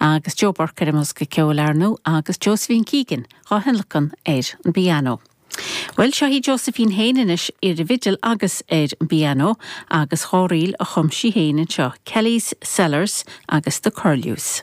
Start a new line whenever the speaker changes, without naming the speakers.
Agus Joe Burke ar an mbosca ceoil, ar ndóigh, agus Josephine Keegan dhá thionlacan ar an bpianó. Bhuel, seo í Josephine féin anois ar an bhfidil agus ar an bpianó agus dhá ríl a chum sí féin anseo, Kelly's Cellars agus The Curlews.